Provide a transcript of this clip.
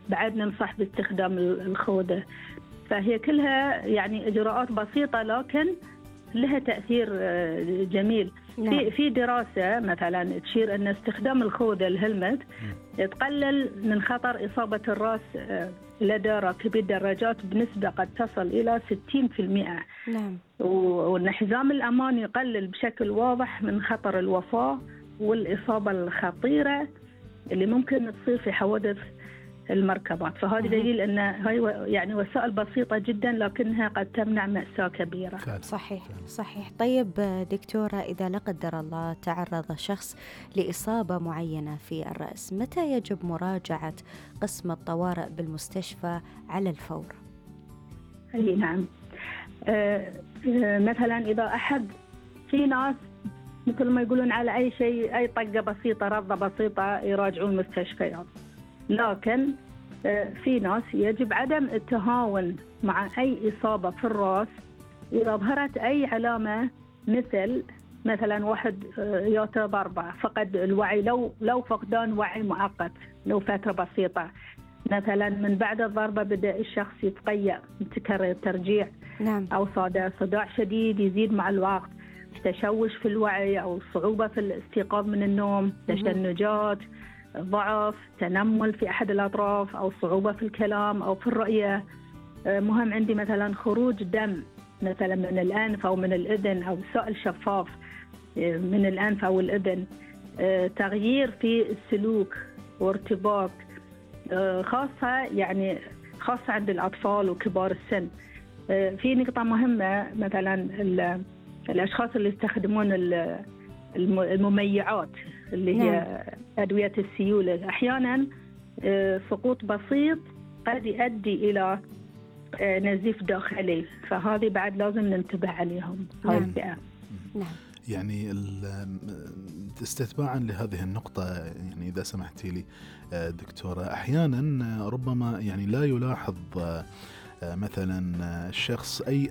بعد ننصح باستخدام الخوذة. فهي كلها يعني إجراءات بسيطة لكن لها تأثير جميل. نعم. في دراسة مثلا تشير أن استخدام الخوذة الهلمت تقلل من خطر إصابة الرأس لدى راكبي الدراجات بنسبة قد تصل إلى 60%. نعم. وأن حزام الأمان يقلل بشكل واضح من خطر الوفاة والإصابة الخطيرة اللي ممكن تصير في حوادث المركبات. فهذا دليل أن هاي يعني وسائل بسيطة جدا لكنها قد تمنع مأساة كبيرة. صحيح. طيب دكتورة، إذا لا قدر الله تعرض شخص لإصابة معينة في الرأس، متى يجب مراجعة قسم الطوارئ بالمستشفى على الفور؟ أي نعم. مثلا إذا أحد، في ناس مثل ما يقولون على أي شيء، أي طقة بسيطة، رضة بسيطة يراجعون المستشفيات، لكن في ناس يجب عدم التهاون مع أي إصابة في الرأس. إذا ظهرت أي علامة مثلا واحد ياته ضربة، فقد الوعي، لو فقدان وعي مؤقت لو فترة بسيطة، مثلا من بعد الضربة بدأ الشخص يتقيأ، متكرر ترجيع، نعم. أو صداع شديد يزيد مع الوقت، تشوش في الوعي أو صعوبة في الاستيقاظ من النوم، تشنجات، ضعف، تنمل في أحد الأطراف، أو صعوبة في الكلام أو في الرؤية. مهم عندي مثلا خروج دم مثلا من الأنف أو من الأذن، أو سائل شفاف من الأنف أو الأذن، تغيير في السلوك وارتباك، خاصة عند الأطفال وكبار السن. في نقطة مهمة، مثلا الأشخاص اللي يستخدمون المميعات اللي هي أدوية السيولة، أحيانا سقوط بسيط قد يؤدي إلى نزيف داخلي، فهذه بعد لازم ننتبه عليهم. نعم. يعني استتباعا لهذه النقطة، يعني إذا سمحتي لي دكتورة، أحيانا ربما يعني لا يلاحظ مثلا الشخص أي